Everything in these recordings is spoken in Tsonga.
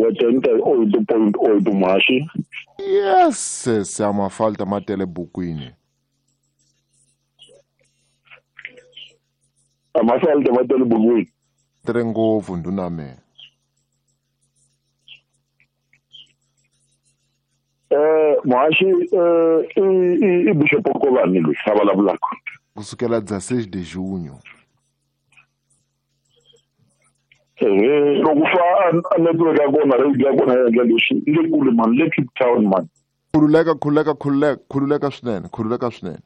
88.8 muhaxi. Yes, se a mafalta ma tele bukwini. A mafalta ma tele bukwini. Tere ngopfu ndhuna me. Muhaxi i Bishop Nkovani loyi a vulavulaka. Kusukela 16 de junho. Loko fa a network ya kona radio ya kona ya endla leswi le kule man, le Cape Town man. Khululeka, khululeka, khululeka, khululeka swinene, khululeka swinene.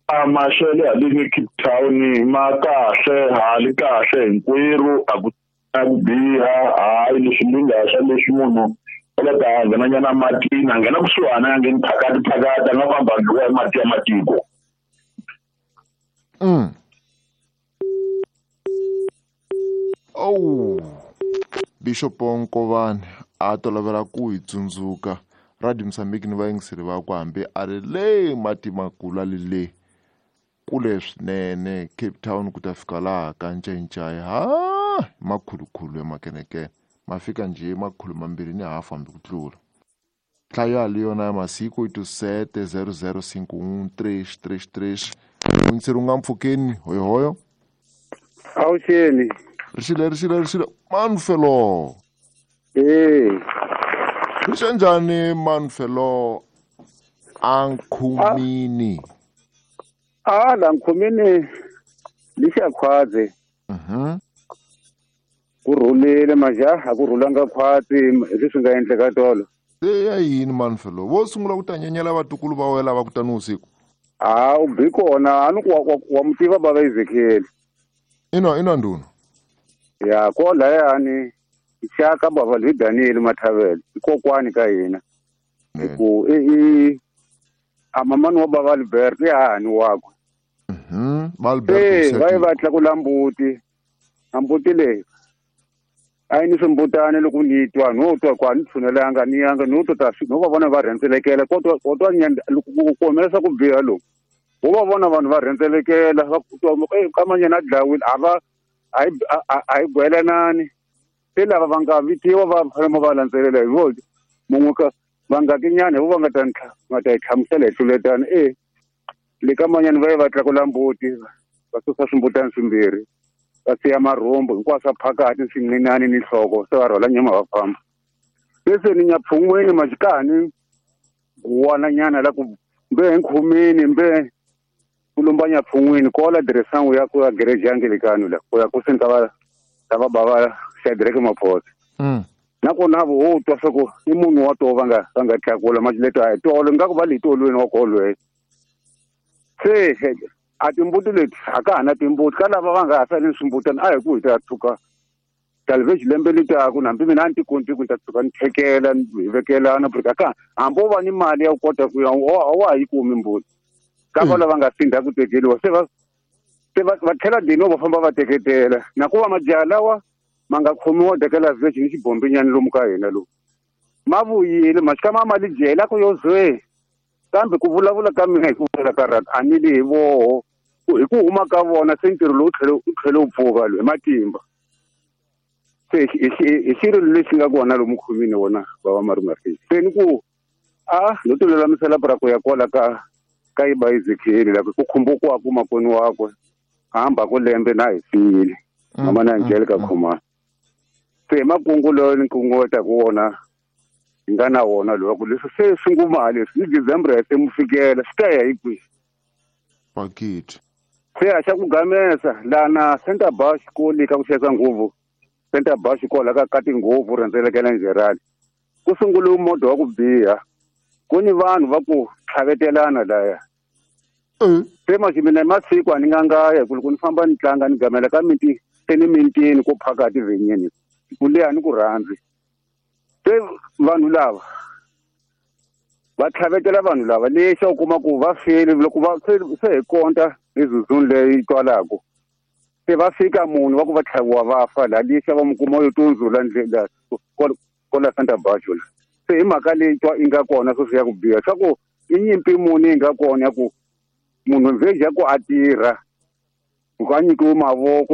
A maxele haleni Cape Town ma kahle, hali kahle hinkwerhu, a ku a ku biha, hayi leswi mi nga swa leswi munhu a la ta nghena nyana matini, a nghena kusuhana, a ngheni phakati phakati, a nga famba a dliwa hi mati ya matiko. Oh, Bishop Nkovani a tolovela ku hi tsundzuka Radio Mozambique ni vayingiseri vakwe hambi a ri le mati makulu a li le kule swinene Cape Town ku ta fika laha ka Ncencai, ha makhulukhulu ya makenekene ma fika njhe makhulu mambirhi ni hafu hambi ku tlula. Nhlayo ya yona ya masiku 870051 333. Muyingiseri u nga mpfhukeni, hoyohoyo. Awuxeni. Rixile, rixile, rixile. Manfelo. Eh. Rixe njhani Manfelo ankhumini? A la nkhumini lixa khwaze. Ku rhulile majaha, ku rhulanga khwatsi hi leswi nga endleka tolo. Se ya yini Manfelo? Vo sungula ku ta nyenyela vatukulu va wena lava ku ta ni usiku. A u bi kona, a ni ku wa mu tiva bava Ezekiel. Ina, ina ndhuna. Ya ko layani xaka bava hi Daniel Mathavele, i kokwani ka hina. Hi ku i a mamani wa bava Albert i hahani wakwe. Va Albert Se, u va ye setile. va tlakula mbuti. A mbuti leyi a yi ni swimbutani loko ni twa, no twa ku a ni tshunelanga, ni yanga, no twa ta swi, no va vona va rhendzelekela, ko twa, ko twa nyanda, loko ku humelerisa ku biha loku. Wo va vona vanhu va rhendzelekela, va ku twa, ka manyana a dlawile, a va, a hi, a, a, a hi gwelanani. Se lava va nga vitiwa va fanele va landzelela hi vo mun'we ka va nga tinyana hi vo va nga ta ntlha, nga ta hi hlamusela hi tluletana. Le ka manyana va ye va tlakula mbuti, va susa swimbutani swimbirhi, va siya marhumbu hinkwaswo phakathi swincinane ni nhloko, se va rhwala nyama va famba. Se se ni nyapfun'weni majikani guwana nyana la ku mbe nkhumini mbe ku lumba nyapfun'weni kola diresangu ya ku ya gereji ya Angelikani la ku ya kuseni ka va ka va bava Shadrack Maphosa. Nakona vo wo twa swa ku i munhu wa to va nga va nga tlakula majileto a hi tolo ingaku va le tolweni wa kolweni. Se a timbuti leti a ka ha na timbuti ka lava va nga ha sali swimbutana a hi ku hi ta tshuka salvage lembe letaku na hambi mina a ni ti koti ku ni ta tshuka ni thekela ni hi vekelana porque a ka hambi wo va ni mali ya ku kota ku ya a wa ha yi kumi mbuti ka va lava nga sindha ku tekeriwa se va se va va tlhela dino va famba va teketela na ku va majaha lawa ma nga khomiwa tekela village ni xibombinyana lomu ka hina lomu ma vuyile ma xika ma mali jela ku yo zwe kambe ku vulavula ka mina hi ku vula ka rata a ni li hi voho hi ku huma ka vona se ntirho lowu tlhele wu tlhele wu pfuka lowu hi matimba se hi xirilo lexi nga kona lomu khumini wona va va malume Rich. Se ni ku a no ti lulamisela pra ku ya kwala ka ka Iba Ezekiel la ku khumbukiwa ku makweni wakwe hamba ku lembe na hi siyile mama na Angelica Khumalo. Se makungu loyi ni kunguhata ku wona hi nga na wona lowa ku leswi se swi nguma leswi ni December ya se mu fikela swi ta ya hi kwihi? Bakiti. Se a xa ku gamesa lana Center Bus xikoli ka ku xavisa nguvu Center Bus xikolo ka ka tinguvu rhendzelekela Njerani ku sungule moto wa ku biha ku ni vanhu va ku tlhavetelana laya. Se manje mina hi masiku a ni nga ngaya hi ku loko ni famba ni tlanga ni gamela ka miti se ni mitini ko phakati vhenyeni ku leha ni ku rhandzi. Se vanhu lava va tlhavetela vanhu lava lexi u kuma ku va file loko va se hi konta mizuzwini leyi twalaka se va fika munhu wa ku va tlhaviwa va fa laha lexi va mu kuma yo tundzula ndlela kola Santa Barbara. Se hi mhaka leyi twa yi nga kona sweswi ya ku biha swa ku i nyimpi muni yi nga kona ya ku munhu vheji ya ku a tirha ku a nyikiwe mavoko